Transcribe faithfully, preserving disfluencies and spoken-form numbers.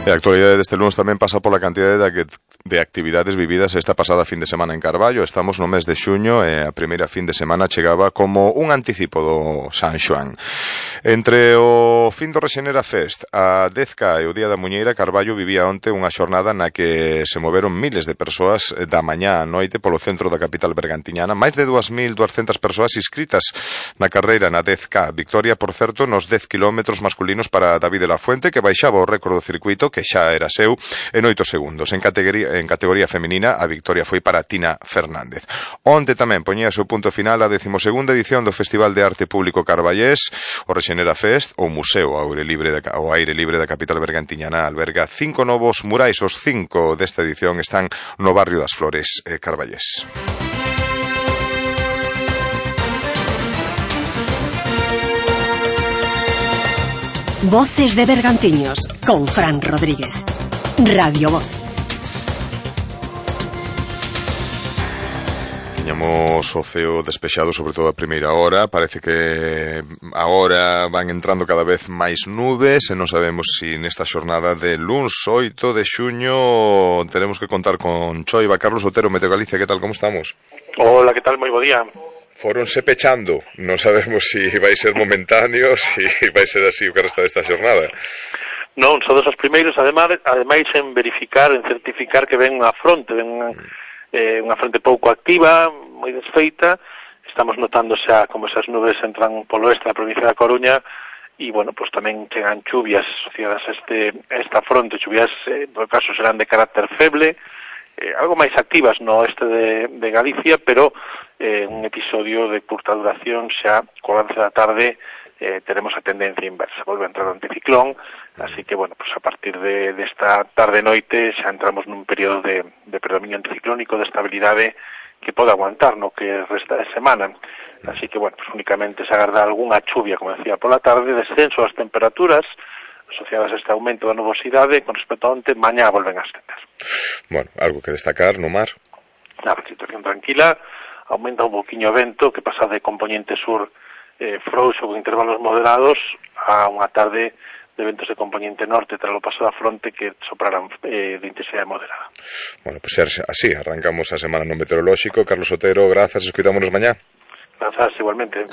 E a actualidade deste lunes tamén pasa pola cantidade de, de actividades vividas esta pasada fin de semana en Carballo. Estamos no mes de xuño e a primeira fin de semana chegaba como un anticipo do San Xoán. Entre o fin do Rexenera Fest, a dez K e o Día da Muñeira, Carballo vivía onte unha xornada na que se moveron miles de persoas da mañá a noite polo centro da capital bergantiñana. Máis de dúas mil duascentas persoas inscritas na carreira na dez K. Victoria, por certo, nos dez kilómetros masculinos para David de la Fuente, que baixaba o récord do circuito, que xa era seu, en oito segundos. En categoría, en categoría feminina, a victoria foi para Tina Fernández. Onte tamén poñía o seu punto final a decimosegunda edición do Festival de Arte Público Carballés, o Rexenera Fest. O Museo ao aire libre da, ao aire libre da capital bergantiñana alberga cinco novos murais. Os cinco desta edición están no barrio das Flores, eh, Carballés. Voces de Bergantiños, con Fran Rodríguez. Radio Voz. Tiñamos o ceo despexado, sobre todo a primeira hora. Parece que agora van entrando cada vez máis nubes e non sabemos se si nesta xornada de luns oito de xuño teremos que contar con Choiva. Carlos Otero, Meteo Galicia, que tal, como estamos? Hola, que tal, moi bo día. Foronse pechando, non sabemos se si vai ser momentáneo, se si vai ser así o que resta desta xornada. Non, son dos os primeiros, ademais, ademais en verificar, en certificar que ven unha fronte, ven unha, eh, unha fronte pouco activa, moi desfeita. Estamos notando xa como esas nubes entran polo oeste da provincia da Coruña e, bueno, pues tamén chegan chuvias asociadas a, este, a esta fronte, chuvias, eh, en todo caso, serán de carácter feble, eh, algo máis activas no oeste de, de Galicia, pero eh, un episodio de curta duración. Xa co avance da tarde eh, teremos a tendencia inversa, volve a entrar o anticiclón, así que, bueno, pues a partir de, de esta tarde-noite xa entramos nun período de, de predominio anticiclónico, de estabilidade que pode aguantar no que resta de semana. Así que, bueno, pues únicamente se agarda algunha chuvia, como decía, pola tarde, descenso das temperaturas asociadas a este aumento da nubosidade con respecto a onte. Mañá volven a ascender. Bueno, algo que destacar no mar? A situación tranquila, aumenta un poquinho o vento, que pasa de componente sur eh, frouxo con intervalos moderados a unha tarde de ventos de componente norte tras o paso da fronte que soprarán eh, de intensidade moderada. Bueno, pois pues así arrancamos a semana no meteorolóxico. Carlos Otero, grazas, escuitámonos mañá. Grazas, igualmente.